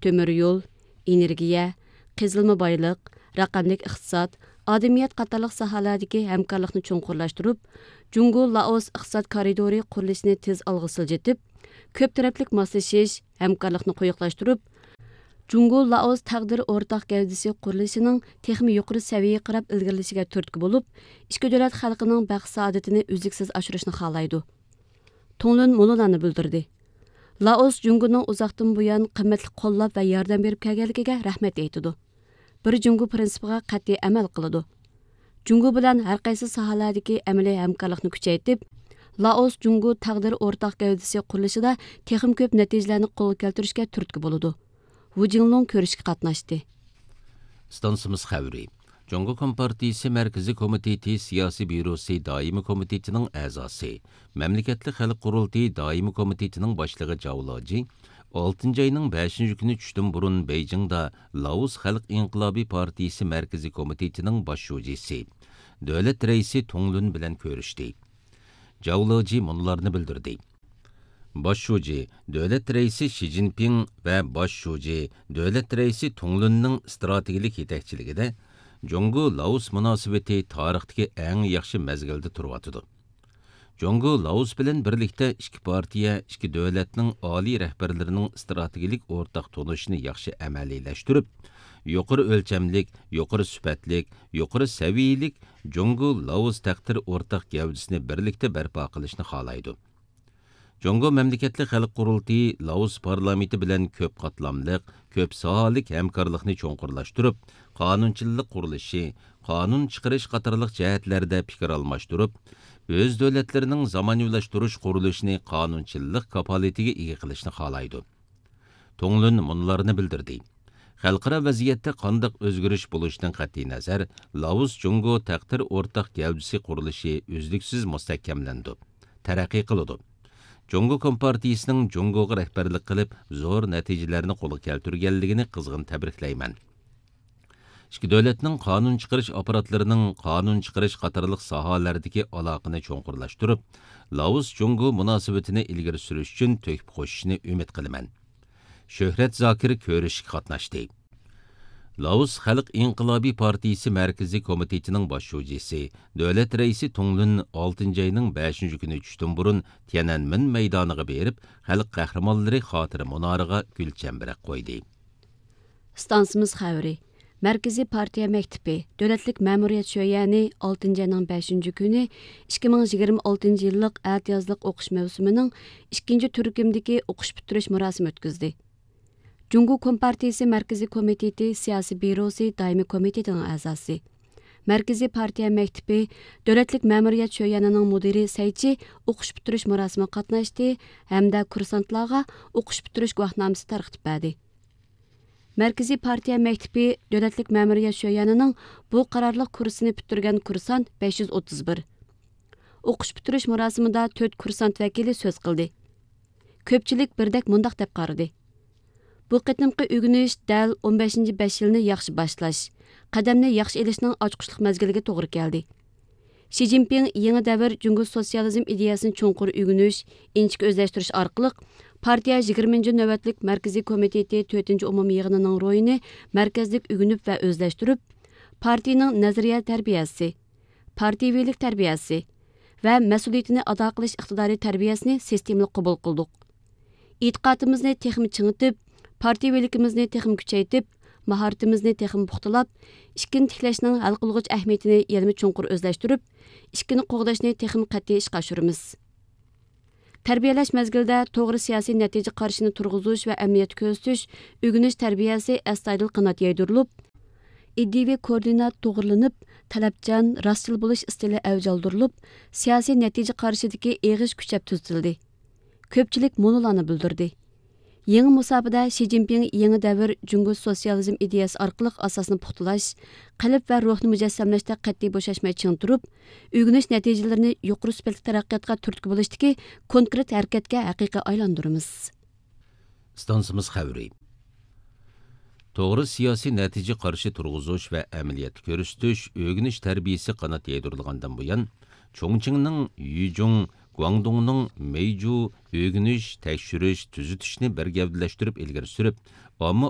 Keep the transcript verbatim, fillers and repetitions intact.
تۆمۈر يول، ئېنېرگىيە، قېزىلما بايلىق، رەقەملىك ئىقتىساد، ئادەمىيەت قاتارلىق ساھەلەردىكى ھەمكارلىقنى چوڭقۇرلاشتۇرۇپ، جۇڭگو لائوس ئىقتىساد كارىدورى قۇرۇلۇشىنى تېز ئالغا سىلجىتىپ، كۆپ تەرەپلىك ماسلىشىش، ھەمكارلىقنى قويۇقلاشتۇرۇپ، جۇڭگو لائوس تەقدىر ئورتاق گەۋدىسى قۇرۇلۇشىنىڭ تېخىمۇ يۇقىرى سەۋىيەگە قاراپ ئىلگىرىلىشىگە تۈرتكە بولۇپ، ئىككى دۆلەت خەلقىنىڭ بەخت سائادىتىنى ئۈزلۈكسىز ئاشۇرۇشنى خالايدۇ. تۇڭلۈن مۇنۇلارنى بىلدۈردى. لائوس جۇڭگونىڭ ئۇزاقتىن بۇيان قىممەتلىك قوللاپ ۋە ياردەم بېرىپ كەلگەنلىكىگە رەھمەت ئېيتىدۇ. بىر جۇڭگو پىرىنسىپىغا قەتئىي ئەمەل قىلىدۇ. جۇڭگو بىلەن ھەر قايسى ساھەلەردىكى ئەمەلىي ھەمكارلىقنى كۈچەيتىپ، لائوس جۇڭگو تەقدىر ئورتاق گەۋدىسى قۇرۇلۇشىدا تېخىمۇ كۆپ نەتىجىلەرنى قولغا كەلتۈرۈشكە تۈرتكە بولىدۇ. ۋۇ جىڭلۇڭ كۆرۈشۈشكە قاتناشتى. ئىستانسىمىز خەۋىرى. جۇڭگو كومپارتىيىسى مەركىزىي كومىتېتى سىياسىي بيۇروسى دائىمىي كومىتېتىنىڭ ئەزاسى، مەملىكەتلىك خەلق قۇرۇلتىيى دائىمىي كومىتېتىنىڭ باشلىقى جاۋ لېجى ئالتىنچى ئاينىڭ بەشىنچى كۈنى چۈشتىن بۇرۇن بېيجىڭدا لائوس خەلق ئىنقىلابى پارتىيىسى مەركىزىي كومىتېتىنىڭ باش شۇجىسى، دۆلەت رەئىسى تۇڭ لۈن بىلەن كۆرۈشتى. جاۋ لېجى مۇنۇلارنى بىلدۈردى. باش شۇجى، دۆلەت رەئىسى شى جىنپىڭ ۋە باش شۇجى، دۆلەت رەئىسى تۇڭ لۈننىڭ ئىستراتېگىيەلىك يېتەكچىلىكىدە جۇڭگو لائوس مۇناسىۋىتى تارىختىكى ئەڭ ياخشى مەزگىلدە تۇرۇۋاتىدۇ. جۇڭگو لائوس بىلەن بىرلىكتە ئىككى پارتىيە، ئىككى دۆلەتنىڭ ئالىي رەھبەرلىرىنىڭ ئىستراتېگىيەلىك ئورتاق تونۇشىنى ياخشى ئەمەلىيلەشتۈرۈپ، يۇقىرى ئۆلچەملىك، يۇقىرى سۈپەتلىك، يۇقىرى سەۋىيەلىك جۇڭگو لائوس تەقدىر ئورتاق گەۋدىسىنى بىرلىكتە بەرپا قىلىشنى خالايدۇ. جۇڭگو مەملىكەتلىك خەلق قۇرۇلتىيى لائوس پارلامېنتى بىلەن كۆپ قاتلاملىق، كۆپ ساھەلىك ھەمكارلىقنى چوڭقۇرلاشتۇرۇپ، قانۇنچىلىق قۇرۇلۇشى، قانۇن چىقىرىش قاتارلىق جەھەتلەردە پىكىر ئالماشتۇرۇپ، ئۆز دۆلەتلىرىنىڭ زامانىۋىلاشتۇرۇش قۇرۇلۇشىنى قانۇنچىلىق كاپالىتىگە ئىگە قىلىشنى خالايدۇ. تۇڭ لۈن مۇنۇلارنى بىلدۈردى. خەلقئارا ۋەزىيەتتە قانداق ئۆزگىرىش بولۇشىدىن قەتئىينەزەر، لائوس جۇڭگو تەقدىر ئورتاق گەۋدىسى قۇرۇلۇشى ئۈزلۈكسىز مۇستەھكەملىنىدۇ، تەرەققىي قىلىدۇ. جۇڭگو كومپارتىيىسىنىڭ جۇڭگوغا رەھبەرلىك قىلىپ، زور نەتىجىلەرنى قولغا كەلتۈرگەنلىكىنى قىزغىن تەبرىكلەيمەن. ئىككى دۆلەتنىڭ قانۇن چىقىرىش ئاپپاراتلىرىنىڭ قانۇن چىقىرىش قاتارلىق ساھەلەردىكى ئالاقىنى چوڭقۇرلاشتۇرۇپ، لائوس جۇڭگو مۇناسىۋىتىنى ئىلگىرى سۈرۈش ئۈچۈن تۆھپە قوشۇشىنى ئۈمىد قىلىمەن. شۆھرەت زاكىر كۆرۈشۈشكە قاتناشتى. لائوس خەلق ئىنقىلابى پارتىيىسى مەركىزىي كومىتېتىنىڭ باش شۇجىسى، دۆلەت رەئىسى تۇڭ لۈن ئالتىنچى ئاينىڭ بەشىنچى كۈنى چۈشتىن بۇرۇن تيەنئەنمېن مەيدانىغا بېرىپ، خەلق قەھرىمانلىرى خاتىرە مۇنارىغا گۈل چەمبىرەك قويدى. ئىستانسىمىز خەۋىرى. مەركىزىي پارتىيە مەكتىپى، دۆلەتلىك مەمۇرىيەت شۆيەنى ئالتىنچى ئاينىڭ بەشىنچى كۈنى ئىككى مىڭ يىگىرمە ئالتىنچى يىللىق ئەتىيازلىق ئوقۇش مەۋسۇمىنىڭ ئىككىنچى تۈركۈمدىكى ئوقۇش پۈتتۈرۈش مۇراسىمى ئۆتكۈزدى. جۇڭگو كومپارتىيىسى مەركىزىي كومىتېتى سىياسىي بيۇروسى دائىمىي كومىتېتىنىڭ ئەزاسى، مەركىزىي پارتىيە مەكتىپى، دۆلەتلىك مەمۇرىيەت شۆيەنىنىڭ مۇدىرى سەي چى ئوقۇش پۈتتۈرۈش مۇراسىمىغا قاتناشتى ھەمدە كۇرسانتلارغا ئوقۇش پۈتتۈرۈش گۇۋاھنامىسى تارقىتىپ بەردى. مەركىزىي پارتىيە مەكتىپى دۆلەتلىك مەمۇرىيەت شۆيەنىنىڭ بۇ قارارلىق كۇرسىنى پۈتتۈرگەن كۇرسانت بەش يۈز ئوتتۇز بىر. ئوقۇش پۈتتۈرۈش مۇراسىمىدا تۆت كۇرسانت ۋەكىلى سۆز قىلدى. كۆپچىلىك بىردەك مۇنداق دەپ قارىدى: بۇ قېتىمقى ئۆگىنىش دەل ئون بەشىنچى بەش يىلنى ياخشى باشلاش، قەدەمنى ياخشى ئېلىشنىڭ ئاچقۇچلۇق مەزگىلىگە توغرا كەلدى. شى جىنپىڭ يېڭى دەۋر جۇڭگو سوتسىيالىزم ئىدىيەسىنى چوڭقۇر ئۆگىنىش، ئىنچىكە ئۆزلەشتۈرۈش ئارقىلىق، پارتىيە يىگىرمىنچى نۆۋەتلىك مەركىزىي كومىتېتى تۆتىنچى ئومۇمىي يىغىنىنىڭ روھىنى مەركەزلىك ئۆگىنىپ ۋە ئۆزلەشتۈرۈپ، پارتىيىنىڭ نەزەرىيە تەربىيەسى، پارتىيىۋىلىك تەربىيەسى ۋە مەسئۇلىيىتىنى ئادا قىلىش ئىقتىدارى تەربىيەسىنى سىستېمىلىق قوبۇل قىلدۇق. ئېتىقادىمىزنى تېخىمۇ چىڭىتىپ، پارتىيىۋىلىكىمىزنى تېخىمۇ كۈچەيتىپ، ماھارىتىمىزنى تېخىمۇ پۇختىلاپ، ئىككىنى تىكلەشنىڭ ھەل قىلغۇچ ئەھمىيىتىنى يەنىمۇ چوڭقۇر ئۆزلەشتۈرۈپ، ئىككىنى قوغداشنى تېخىمۇ قەتئىي ئىشقا ئاشۇرىمىز. تەربىيەلەش مەزگىلىدە توغرا سىياسىي نەتىجە قارىشىنى تۇرغۇزۇش ۋە ئەمەلىيەتتە كۆرسىتىش، ئۆگىنىش تەربىيەسى ئەستايىدىل قانات يايدۇرۇلۇپ، ئىدىيىۋى كوئوردىنات توغرىلىنىپ، تەلەپچان، راستچىل بولۇش ئىستىلى ئەۋج ئالدۇرۇلۇپ، سىياسىي نەتىجە قارىشىدىكى ئېغىش كۈچەپ تۈزىتىلدى. كۆپچىلىك مۇنۇلارنى بىلدۈردى. يېڭى مۇساپىدە شى جىنپىڭ يېڭى دەۋر جۇڭگو سوتسىيالىزم ئىدىيەسى ئارقىلىق ئاساسنى پۇختىلاش، قەلب ۋە روھنى مۇجەسسەملەشتە قەتئىي بوشاشماي چىڭ تۇرۇپ، ئۆگىنىش نەتىجىلىرىنى يۇقىرى سۈپەتلىك تەرەققىياتقا تۈرتكە بولۇشتىكى كونكرېت ھەرىكەتكە ھەقىقىي ئايلاندۇرىمىز. ئىستانسىمىز خەۋىرى. توغرا سىياسىي نەتىجە قارىشى تۇرغۇزۇش ۋە ئەمەلىيەتتە كۆرسىتىش، ئۆگىنىش تەربىيەسى قانات يايدۇرۇلغاندىن بۇيان، چۇڭچىڭنىڭ يۈجۇڭ، گۇاڭدۇڭنىڭ مېيجۇ ئۆگىنىش، تەكشۈرۈش، تۈزىتىشنى بىر گەۋدىلەشتۈرۈپ ئىلگىرى سۈرۈپ، ئامما